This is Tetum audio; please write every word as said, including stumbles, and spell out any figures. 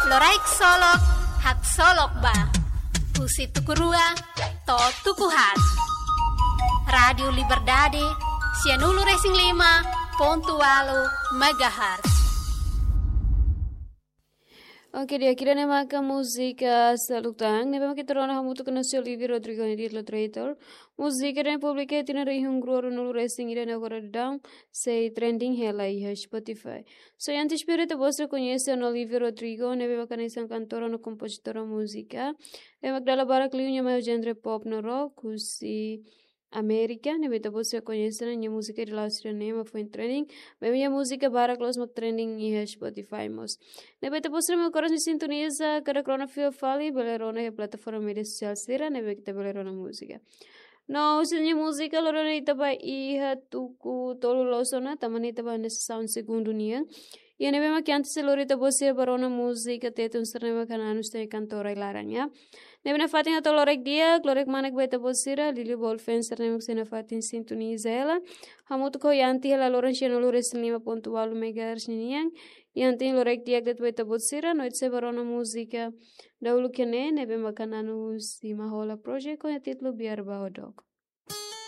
Loraik Solok, haksolok ba. Husi tuku rua to'o tuku haat. Rádiu Liberdade, sianulu-resin-lima pontu ualu megahertz. Oke, di'ak, ida-ne'e maka múzika Saluk Tan ne'ebé mak ita rona hamutuk ho Olivia Rodrigo nia títulu Traitor. Múzika ne'e publika iha tinan rihun rua ruanulu-resin-ida, ne'e agora daudaun sei trending hela iha Spotify. So, antes primeiru ita-boot sira koñese Olivia Rodrigo ne'ebé mak hanesan kantora no kompozitora múzika ne'ebé mak dala barak liu nia mai ho genre pop no rock husi Amérika, ne'ebé ita-boot sira koñese ona nia múzika ida la'o sira-ne'e mak foin trending. Maibé nia múzika barak loos mak trending iha Spotify mós. Ne'ebé ita-boot sira mak oras ne'e sintoniza katak rona fila fali, bele rona iha plataforma média sosiál sira ne'ebé ita bele rona múzika. No husi nia múzika lori ona ita ba iha tuku tolu loos ona, tanba ne'e ita ba hanesan segundu nian. Iha ne'ebé mak antes sei lori ita-boot sira ba rona múzika Tetun sira ne'ebé mak Hananu nia kantora iha laran, ya. Ne'ebé nafatin hato'o loraik di'ak, loraik manek ba ita-boot sira, liuliu ba ol fans sira ne'ebé mak sei nafatin sintoniza hela. Hamutuk ho Yanti hela loron sianulu-resin-lima pontu ualu megahertz ninian. Yanti, loraik di'ak de'it ba ita-boot sira, no ita sei ba rona múzika dahuluk iha ne'e, ne'ebé mak Hananu husi Mahola Project ho nia títulu Biar Ba Ho Dook.